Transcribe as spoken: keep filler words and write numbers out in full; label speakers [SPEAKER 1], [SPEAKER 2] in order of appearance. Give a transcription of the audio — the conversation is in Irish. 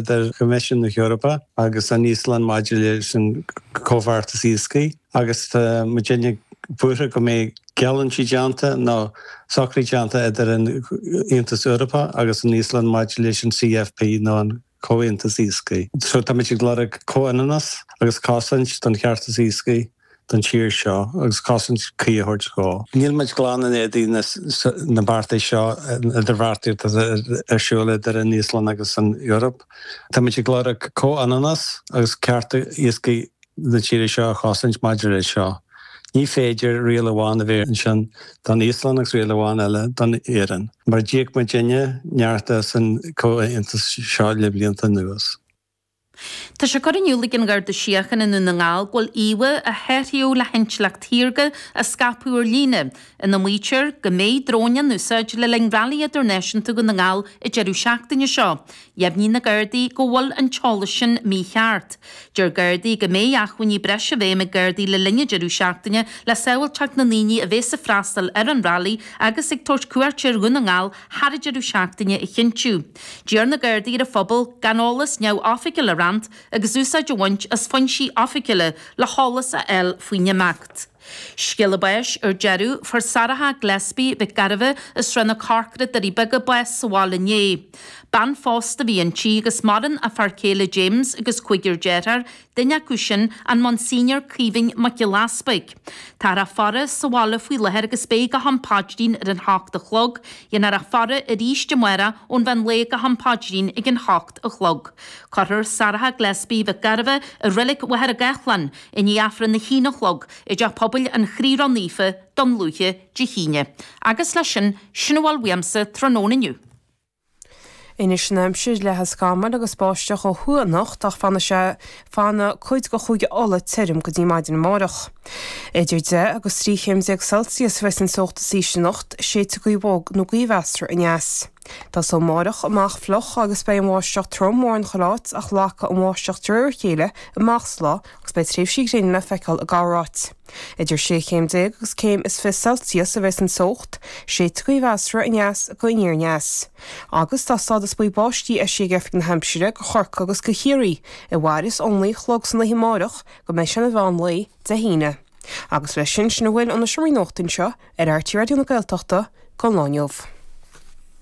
[SPEAKER 1] idir Choimisiún na hEorpa agus an Íoslainn maidir leis an comhbheartas iascaigh agus tá muidinne buartha go mbeidh geallúintí déanta nó socruithe déanta idir an Aontas Eorpach agus an Íoslainn maidir leis an CFP nó an Comhaontas Iascaigh. So táimid ag lorg comhionannas agus cosaint don cheartas iascaigh don tír seo agus cosaint cuí a thabhairt dó. Níl muid glan in éadan na beartais seo idirbheartaíocht ar siúl idir an Íoslainn agus an Eoraip. Táimid ag lorg comhionannas agus cearta iascaigh na tíre seo a chosaint maidir leis seo. Ní féidir riail amháin a bheith ansin don Íoslainn agus riail amháin eile don Éirinn. Mar d'íoc muidinne neart as an comhaontas seo le blianta anuas.
[SPEAKER 2] Tá sé curtha in iúl ag an Gharda Síochána i nDún na nGall go bhfuil íomhá a saothraíodh le hintleacht shaorga a scaipeadh ar líne, ina maítear go mbeidh dróin in úsáid le linn Railí Idirnáisiúnta Dhún na nGall an deireadh seachtaine seo. Dheimhnigh na Gardaí go bhfuil an t-eolas sin mícheart. Deir Gardaí go mbeidh acmhainní breise i bhfeidhm ag Gardaí le linn an deireadh seachtaine le sábháilteacht na ndaoine a bheas ag freastal ar an Railí agus ag tabhairt cuairte ar Dhún na nGall thar an deireadh seachtaine a chinntiú. D'iarr na Gardaí ar an phobal gan eolas neamhoifigiúil a roinnt agus úsáid a bhaint as foinsí oifigiúla le heolas a fháil faoin imeacht. Scéala báis ar deireadh, fuair Sarah Gillespie Mhic Gairbheith as Srath na Corcra, Doirí Beaga, bás sa bhaile inné. Bean phósta a bhí inti agus maireann a fear céile James agus cúigear dearthár, duine acu sin an Monsignor Caoimhín Mac Giolla Easpaig. Táthar á faire sa bhaile faoi láthair agus beidh go ham paidrín ar an hocht a chlog. Dhéanfar a faire arís amárach ón mheán lae go ham paidrín ag an hocht a chlog. Cuirfear Sarah Gillespie Mhic Gairbheith i Reilig Mhachaire Gathlán i ndiaidh Aifreann a haon a chlog i dTeach Pobail an Chroí Ró-Naofa, Dún Lúiche, Dé hAoine. Agus leis sin, sin a bhfuil uaimse tráthnóna inniu.
[SPEAKER 3] Anois an aimsir leathfaidh scamaill agus báisteach ó thuaidh anocht ach fanfaidh sé fanfaidh cuid de Chúige Uladh tirim go dtí maidin amárach. Idir deich agus trí chéim déag Celsius a bheas an teocht is ísle anocht, séidfidh gaoth bhog nó gaoth mheasartha aneas. Tosóidh amárach amach fliuch agus beidh an bháisteach trom mórán chuile áit ach lagóidh an bháisteach de réir a chéile amach sa lá agus beidh tréimhsí gréine le feiceáil i gcorráit. Idir sé chéim déag agus céim is fiche Celsius a bheas an teocht, séidfidh gaoth mheasartha aneas go aniar aneas. Agus tá stádas buí báistí eisithe ag Oifig na hAimsire go Chorcaigh agus go Chiarraí a mhairfeas ón naoi a chlog san oíche amárach go mbeidh sé ina mheán lae Dé hAoine. Agus leis sin sin a bhfuil ó na seomraí nuachta anseo ar RTÉ Raidió na Gaeltachta don lá inniu.